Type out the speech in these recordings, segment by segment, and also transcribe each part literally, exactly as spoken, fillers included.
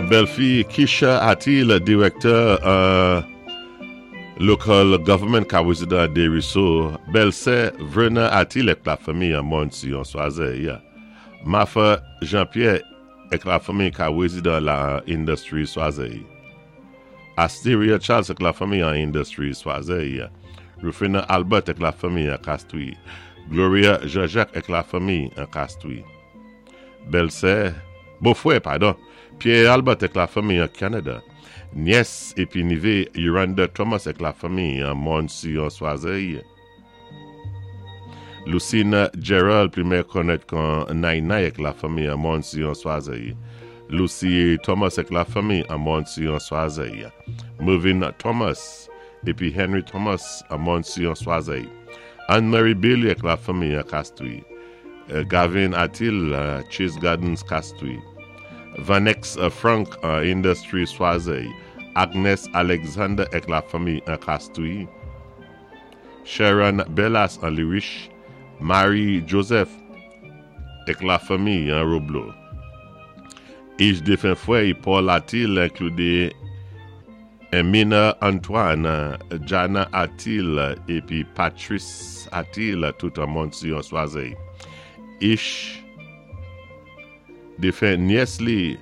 Bèlfi Kisha Atil, direktè euh, local government ka wézidan Desruisseaux. Bèlsè Verna Atil èk lafanmi an Mòn Siyon Choiseul. Martha Jean-Pierre èk lafanmi ka wézidan la Industry Choiseul. Asteria Charles èk lafanmi an Industry Choiseul. Rufina Albert èk lafanmi an Castries. Gloria Jean-Jacques èk lafanmi an Castries. Bèlsè, bòfwè, padon, Pierre Albert èk lafanmi an Kanada. Nyès épi nivé Yolanda Thomas èk lafanmi an Mòn Siyon Choiseul. Lucina Gerald, pli mé konnèt kon Naina èk lafanmi an Mòn Siyon Choiseul. Lucy Thomas èk lafanmi an Mòn Siyon Choiseul. Mervyn Thomas épi Henry Thomas an Mòn Siyon Choiseul. Anne-Marie Bailey èk lafanmi an Castries. Euh, Gavin Atil, euh, Chase Gardens Castries. Vanex euh, Frank uh, Industry Choiseul. Agnes Alexander èk lafanmi an Castries. Sharon Bellas an Liriche. Marie Joseph èk lafanmi an Roblot. Ich défen fwè Paul Atil enklidé Emina Antoine, Jana Atil épi Patrice Atil tout an Mòn Siyon Choiseul. Ich défen nyès li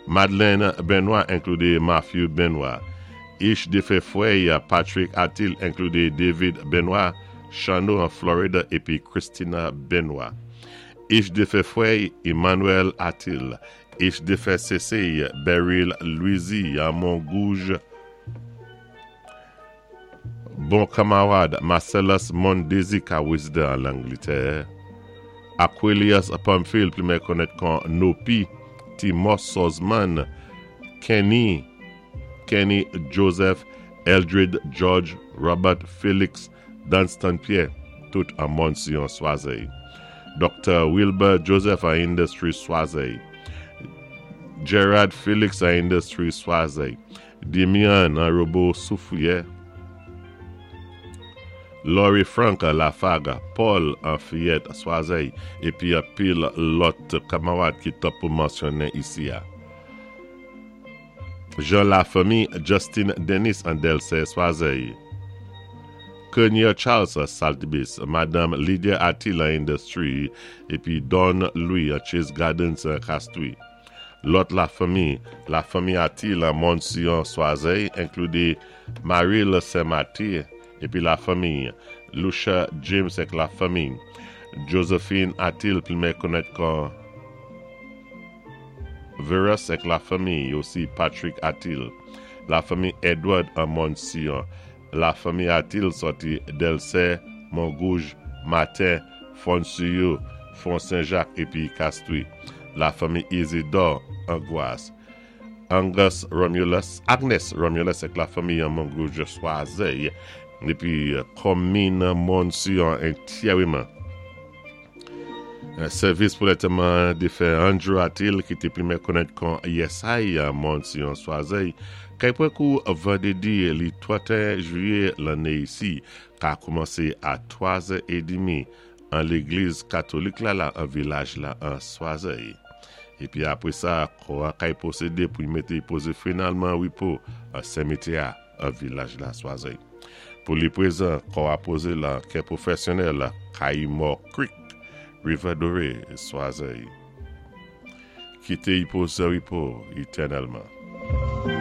Madeleine Benoît enklidé Matthew Benoît. Ich défen fwè Patrick Atil enklidé David Benoît, Chano an Florida épi Christina Benoît. Ich défen fwè Emmanuel Atil. Ich défen sésé Beryl Louisi an Mongouge. Bon kanmarad Marcellus Mondesi ka wézidan an Langlétè. Aquilius Pamphile, pli mé konnèt kon Nopi, Timos Sosman, Kenny, Kenny Joseph, Eldred George, Robert Felix, Dunstan Pierre, tout an Mòn Siyon Choiseul. Dr. Wilbur Joseph an Industry Choiseul. Gerard Felix an Industry Choiseul. Demian an Robo Soufrière. Laurie Frank an Lafaga, Paul an Fayette Choiseul, épi anpil lòt kanmarad ki twòp pou mansyonnen isi a. Jean Lafamille, Justin Dennis an Delce Choiseul. Kenya Charles Saltibus, Madame Lydia Atil an Industry, épi Don Louis an Chase Gardens an Castries. Lòt lafanmi, lafanmi Atil an Mòn Siyon Choiseul, enklidé Maril Saint-Martyr, épi lafanmi, Lucia James èk lafanmi, Josephine Atil, pli mé konnèt kon Verus èk lafanmi, osi Patrick Atil, lafanmi Edward an Mòn Siyon, lafanmi Atil sòti Delce, Mongouge, Martin, Fonsuyo, Fond Saint-Jacques épi Castries, lafanmi Isidore Angoisse, Angus Romulus, Agnes Romulus èk lafanmi an Mongouge Choiseul, épi konmin Mòn Siyon antyèman. Sèvis pou lantèman défen Andrew Atil ki té pli mé konnèt kon Yesay Mòn Siyon Choiseul, kay pwan kou vandédi li twantéen jwiyé lanné isi, ka koumansé a twa zè édmi an légliz katolik la la an vilaj la an Choiseul. Épi apwé sa, kò a kay pwosédé pou y mété pozé finalman wépo an simityè an vilaj la Choiseul. Pou li pwézan, kò a pozé lan kè pwofèsyonnèl Kayimò Creek, Rivière Dorée, Choiseul. Kité y pozé wépo étènèlman.